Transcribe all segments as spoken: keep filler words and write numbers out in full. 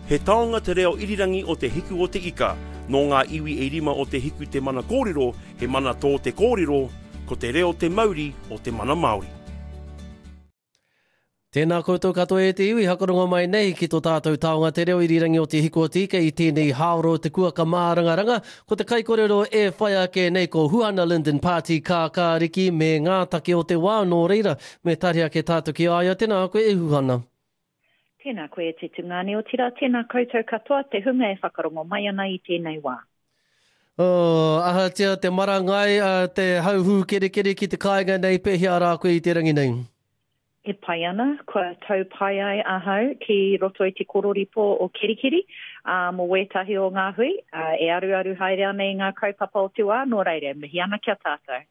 He taonga te reo irirangi o Te Hiku o Te Ika. Nō ngā iwi e rima o Te Hiku te mana kōrero, he mana tō te kōrero, ko te reo te mauri o te mana Māori. Tēnā koutou katoa e te iwi, hakarongo mai nei ki tō tātou taonga te reo irirangi o Te Hiku o Te Ika i tēnei hāoro te kuaka mārangaranga. Ko te kaikorero e whai ake nei ko Huana Lyndon Pāti Kākāriki me ngā take o te wā nō reira. Me tari ake tātou ki a ia, tēnā koe e Huana. Tēnā koe e te tungāne, otirā tēnā koutou katoa te hunga e whakarongo mai ana i tēnei wā. Oh, ahatia te marangai, uh, te hauhū kerekere ki te kāinga nei, pēhea rā koe i te rangi nei? E pai ana, kua tau pai ai ahau ki roto i te kororipo o Kerikeri, uh, mō wētahi o ngā hui, uh, e aruaru haere ana i ngā kaupapa o te wā, nō reira, mihi ana ki a tātou.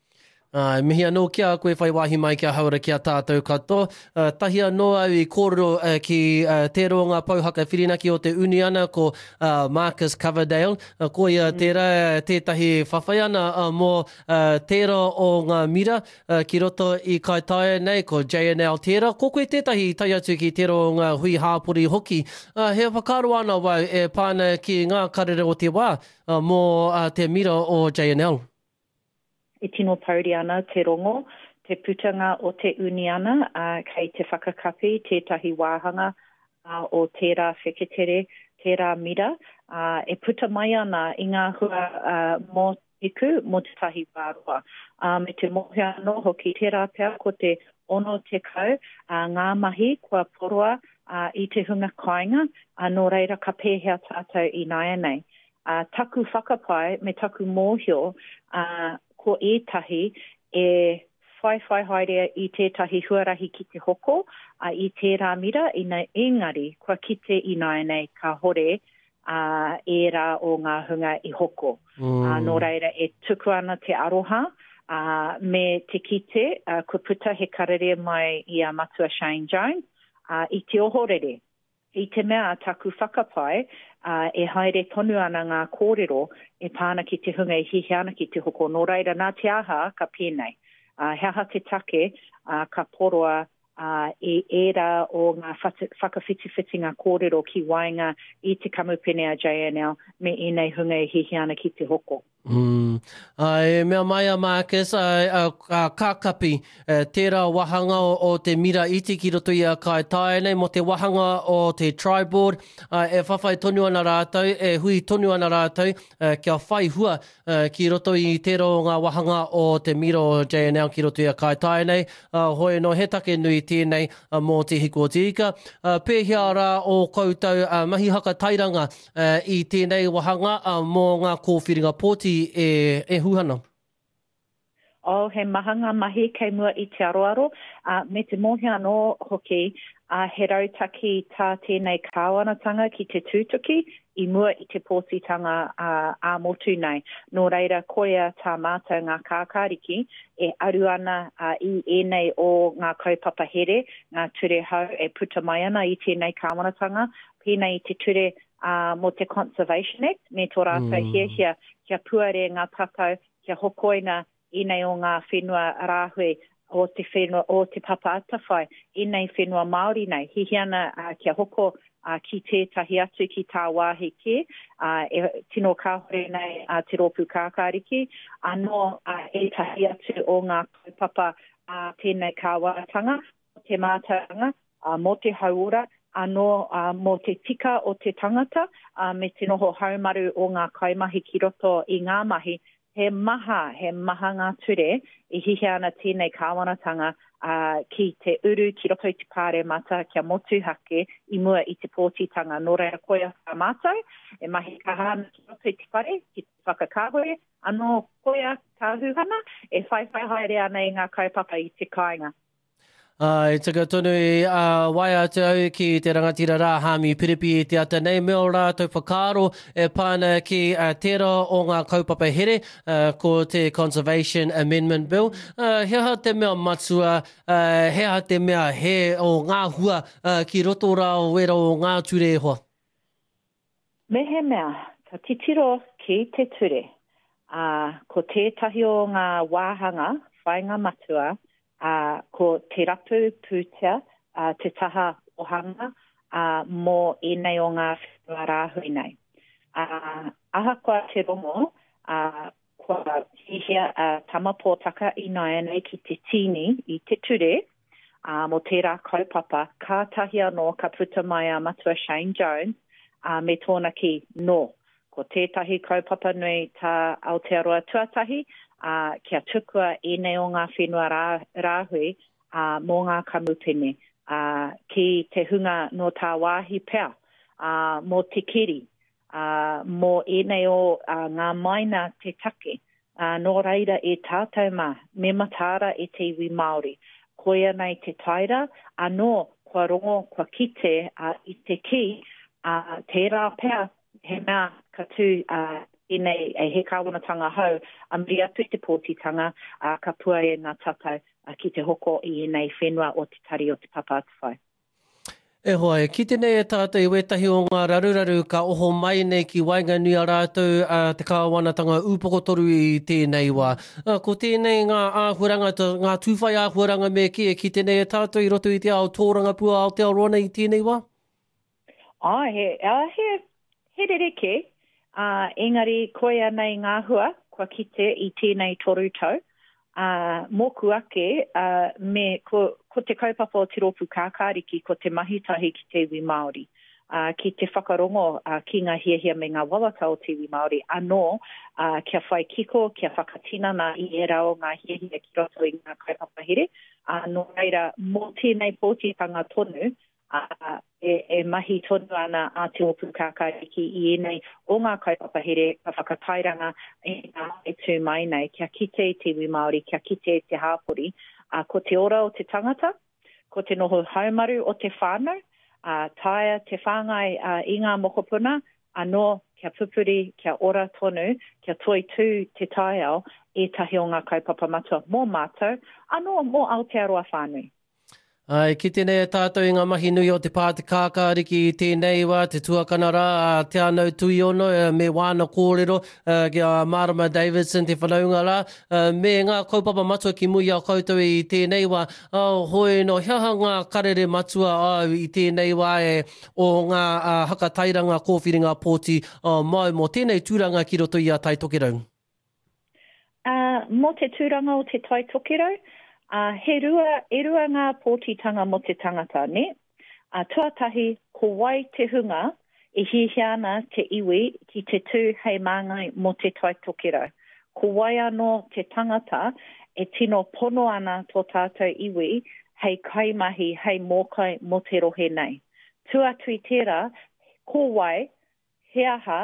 Uh, mihi anō ki a koe whai wāhi mai kia haura ki a tātou katoa. Uh, tahi anō au i kōrero uh, ki uh, te rōnga pouhaka whirinaki o te uniana ko uh, Marcus Coverdale. Uh, ko ia mm. tērā tētahi whawhai ana uh, mō uh, tērā o ngā mira uh, ki roto i Kaitaia nei, ko J N L tērā. Ko koe tētahi i tae atu ki tērā o ngā hui hāpori hoki. Uh, he whakaaro ana wau e pāna ki ngā karere o te wā uh, mō uh, te mira o J N L. E tino pouri ana te rongo, te putanga o te uniana, uh, kei te whakakapi tētahi wāhanga uh, o tērā wheketere, tērā mira, uh, e puta mai ana i ngā hua uh, mō te hiku, mō te tahi wāroa. Uh, me te mōhio anō hoki, tērā pea ko te ono tekau uh, ngā mahi kua poroa uh, i te hunga kāinga, uh, nō reira ka pēhea tātou i nāianei. Uh, taku whakapae me taku mōhio, uh, ko ētahi e whaiwhai haere i tētahi huarahi ki te hoko uh, i tērā mira, ina engari kua kite i nāianei ka hore uh, ērā o ngā hunga i hoko. Mm. Uh, nō reira e tuku ana te aroha uh, me te kite uh, kua puta he karere mai i a Matua Shane Jones uh, i te ohorere. I te mea taku whakapae, uh, e haere tonu ana ngā kōrero e pāna ki te hunga e hihi ana ki te hoko. Nō reira, nā te aha ka pēnei. Uh, he aha te take uh, ka poroa uh, e ērā o ngā whakawhitiwhitinga kōrero ki waenga i te kamupene a J N L me ēnei hunga e hihi ana ki te hoko. Mm. Uh, e mea mai a Marcus, uh, uh, ka kapi uh, tērā wahanga o, o te mira iti ki roto i a Kaitaia nei, mō te wahanga o te Triboard, uh, e whawhai tonu ana rātou, e hui tonu ana rātou, uh, kia whai hua uh, ki roto i tērā o ngā wahanga o te mira o J N L ki roto i a Kaitaia nei, uh, hoi no he take nui tēnei uh, mō te Hiku o Te Ika. Uh, pēhea rā o koutou uh, mahi haka tairanga uh, i tēnei wahanga uh, mō ngā kōwhiringa pōti e, e Huana? Oh, he maha ngā mahi kei mua i te aroaro, uh, me te mōhio anō hoki, uh, he rautaki tā tēnei kāwanatanga ki te tūtuki i mua i te pōtitanga uh, ā-motu nei. Nō reira, koia tā mātou ngā kākāriki e aru ana uh, i ēnei o ngā kaupapa here, ngā ture hau e puta mai ana i tēnei kāwanatanga, pēnei i te ture uh, mō te Conservation Act, me tō rātou mm. hiahia kia puare ngā tatau, kia hokoina ēnei o ngā whenua rāhui o te whenua o te Papa Atawhai, ēnei whenua Māori nei. Hihi ana uh, kia hoko uh, ki tētahi atu ki tāwāhi kē, uh, e tino kāhore nei uh, te rōpū kākāriki, anō uh, ētahi atu o ngā kaupapa uh, tēnei kāwanatanga, te mātauranga, uh, mō te hauora, anō uh, mō te tika o te tangata, uh, me te noho haumaru o ngā kaimahi ki roto i ngā mahi. He maha, he maha ngā ture i hihi ana tēnei kāwanatanga uh, ki te uru, ki roto i te pāremata, kia motuhake i mua i te pōtitanga. Nō reira koia tā mātou, e mahi kaha ana ki roto i te whare, ki te whakakāhore, anō koia tā Huhana, e whaiwhai haere ana i ngā kaupapa i te kāinga. Uh, e tika tonu i uh, waia atu au ki te rangatira rā Hāmi Piripi i te ata nei, me o rātou whakaaro e pāna ki uh, tērā o ngā kaupapa here, uh, ko te Conservation Amendment Bill. Uh, he aha te mea matua, uh, he aha te mea he o ngā hua uh, ki roto rā o wera o ngā ture e hoa? Me he mea, ka titiro ki te ture, uh, ko tētahi o ngā wāhanga, whainga matua, Uh, ko te rapu pūtea, uh, te taha ohanga, uh, mō ēnei o ngā whenua rāhui nei. Ā, ahakoa te rongo, ā, kua hihia a Tama Pōtaka ināianei ki te tīni i te ture, ā, mō tērā kaupapa, kātahi anō ka puta mai a Matua Shane Jones, ā, me tōna kī, nō, ko tētahi kaupapa nui tā Aotearoa Tuatahi, ā, kia tukua ēnei o ngā whenua rā, rāhui, ā, mō ngā kamupene, ā, ki te hunga nō tāwāhi pea, ā, mō te keri, ā, mō ēnei o ā, ngā maina te take. Ā, nō reira e tātou mā, me mataara e te iwi Māori. Koia nei te taira, anō kua rongo, kua kite ā, i te kī, ā, tērā pea he mea ka tū ā, tēnei e he kāwanatanga hou, a muri atu i te pōtitanga, ā, ka puare ngā tatau ā, ki te hoko i ēnei whenua o Te Tari o Te Papa Atawhai. E hoa, e kite nei e tātou i wētahi o ngā raruraru ka oho mai nei ki waenganui a rātou a te kāwanatanga ūpokotoru i tēnei wā. Ko tēnei ngā āhuaranga, ngā tūwhai āhuaranga me kī e kite nei e tātou i roto i te ao tōrangapū a Aotearoa nei i tēnei wā? Āe, he, he, he rerekē, ā, engari koia nei ngā hua kua kite i tēnei toru tau. Ā, mōku ake, ā, me, ko, ko te kaupapa o Te Rōpū Kākāriki ko te mahi tahi ki te iwi Māori, ā, ki te whakarongo, ā, ki ngā hiahia me ngā wawata o te iwi Māori anō, ā, kia whai kiko, kia whakatinana i ērā o ngā hiahia ki roto i ngā kaupapa here. Ā, nō reira, mō tēnei pōtitanga tonu, ā, e, e mahi tonu ana a Te Rōpū Kākāriki i ēnei o ngā kaupapa here ka whakatairanga i ngā e tū mai nei, kia kite i te iwi Māori, kia kite i te hāpori. Ā, ko te ora o te tangata, ko te noho haumaru o te whānau, ā, taea te whāngai ā, i ngā mokopuna, anō kia pupuri, kia ora tonu, kia toitū te taiao, ētahi o ngā kaupapa matua mō mātou, anō mō Aotearoa whānui. Ā, e kite nei e tātou i ngā mahi nui o te pā te kākāriki i tēnei wā, te tuakana rā, a Te Anau Tuiono, me wāna kōrero, ki a Marama Davidson, te whanaunga rā, me ngā kaupapa matua ki muri i a koutou i tēnei wā. Hoi no, he aha ngā karere matua au i tēnei wā e o ngā hakatairanga kōwhiringa pōti mau mō tēnei tūranga ki roto i a Tai Tokerau? Uh, mō te tūranga o te Tai Tokerau, uh, he rua, e rua ngā pōtitanga mō te tangata, ne? Uh, tuatahi, ko wai te hunga e hiahia ana te iwi ki te tū hei māngai mō te Tai Tokerau. Ko wai anō te tangata e tino pono ana tō tātou iwi hei kaimahi, hei mōkai mō te rohe nei. Tuatu i tērā, ko wai, he aha,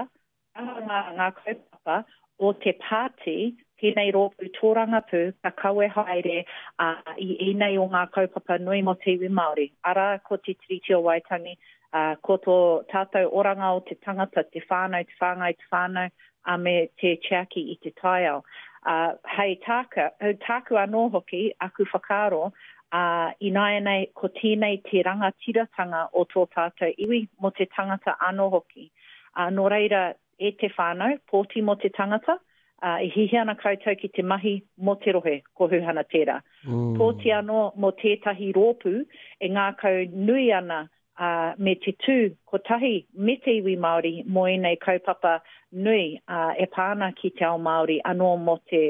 aha ngā, ngā kaupapa o te pāti, tēnei rōpū tōrangapū ka kawe haere uh, i ēnei o ngā kaupapa nui mō te iwi Māori. Arā, ko te Tiriti o Waitangi, uh, ko tō tātou oranga o te tangata, te whānau, te whāngai, te whānau, uh, me te tiaki i te taiao. Uh, hei tāka, tāku anō hoki, aku whakaaro, uh, ināianei ko tēnei te rangatiratanga o tō tātou iwi mō te tangata anō hoki. Uh, nō reira, e te whānau, pōti mō te tangata, uh, e hiahia ana koutou ki te mahi mō te rohe, ko Huhana tērā. Mm. Pōti anō mō tētahi rōpū e ngākau nui ana uh, me te tū kotahi me te iwi Māori mō ēnei kaupapa nui uh, e pā ana ki te ao Māori anō mō te,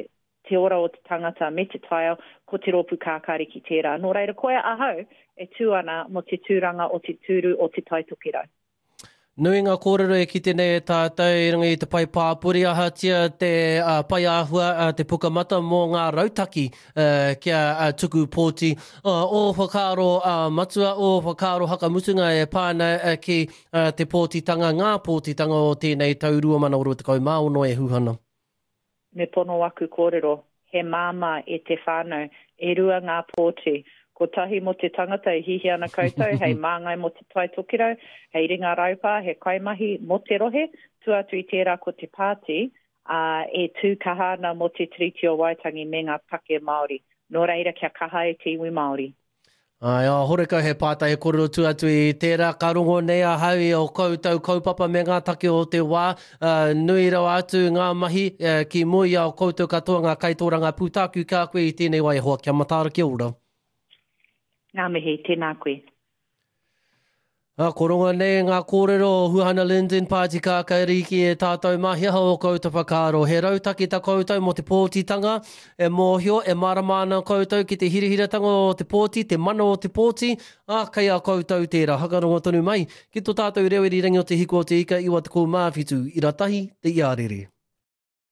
te ora o te tangata me te taiao, ko te rōpū kākāriki tērā. Nō reira, koia ahau e tū ana mō te tūranga o te tūru o te Tai Tokerau. Nui ngā kōrero e kite nei e tātou i runga i te pai pāpori ahatia te uh, pai āhua uh, te pukamata mō ngā rautaki uh, kia uh, tuku pōti. Uh, o whakaaro uh, matua, o whakaaro hakamutunga e pāna uh, ki uh, te pōtitanga, ngā pōtitanga o tēnei tau rua mano rua tekau mā ono e Huhana. Me pono aku kōrero, he māmā e te whānau, e rua ngā pōti. Kotahi mō te tangata e hiahia ana koutou, hei māngai mō te Tai Tokerau, hei ringa raupā, he kaimahi mō te rohe, tuatu i tērā ko te pāti, uh, e tū kaha ana mō te Tiriti o Waitangi me ngā take Māori. Nō reira kia kaha e te iwi Māori. Ai, oh, horekau he pātai e kōrero tu atu i tērā, ka rongo nei ahau i o koutou kaupapa me ngā take o te wā, uh, nui rawa atu ngā mahi uh, ki mua i a koutou katoa ngā kaitōrangapū tāku kia koe i tēnei wā e hoa, kia mataara kia ora. Ngā mihi, tēnā koe. A, ko nei ngā kōrero o Huhana Lyndon Pāti Kākāriki e tātou mahi o koutou whakaaro. He rautaki ta koutou mō te pōtitanga, e mōhio, e marama ana koutou ki te hirahiratanga o te pōti, te mana o te pōti, a kei a koutou tērā. Hakarongo tonu mai, ki tō tātou reo irirangi o te hiku o te ika iwa tekau mā whitu, ira tahi, te iarere.